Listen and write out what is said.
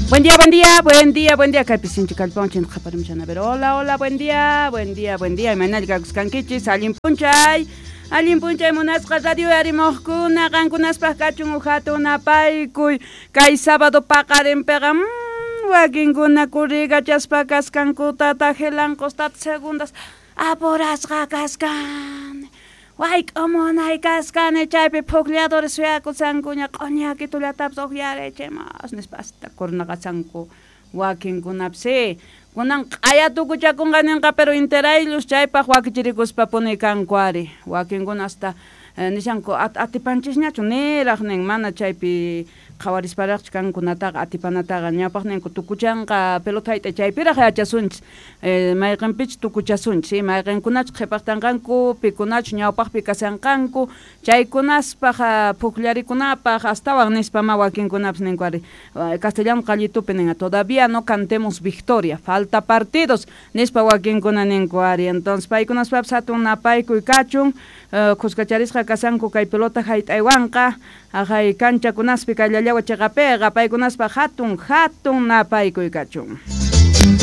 Buen día, buen día, buen día, buen día. Kaypi sinchi kallpawan chinta qhaparimushani. A ver, hola, hola, buen día, buen día, buen día. Imaynalla kakuskankichis, allin p'unchay. Allin p'unchay munasqa radio uyarimuqkuna, qankunaspaq kachun uj hatun napaykuy. Kay sábado paqarinpiqa, wakinkuna kurrikachaspa kaskankuta tajelanqos tata segundas apurasqa kaskan. Wayk'umunay kaskani chaypi puklladores suyakusankuña q'uñakitullatapis uqyarichimus nispa hasta kurnaqasanku wakinkunapis. Sí, kunan q'aya tukuchakunqa ninqa pero interaylus chaypaq wakichirikuspapuni kanku ari. Wakinkuna hasta nishanku atipanchisñachu niraq nin mana chaypi qhawarisparaqchu kankunataqa atipanataqa ñawpaq ninku tukuchanqa pelota hayt'ay chaypiraq yachasunchis mayqinpichus tukuchasunchis mayqinkunachus qhipaqtanqanku pikunachus ñawpaqpi kashanqanku chaykunaspaq pukllarikunapaq astawan nispa ma wakinkunapis ninku ari castellano qallitupi nin todavía no cantemos victoria falta partidos nispa wakinkuna ninku ari entonces paykunaspapis hatun napaykuy kachun khuskacharisqa kashanku kay pelota hayt'aywanqa haqay kanchakunaspi kay llallawa chiqapiqa paykunaspaq hatun hatun napaykuy kachun.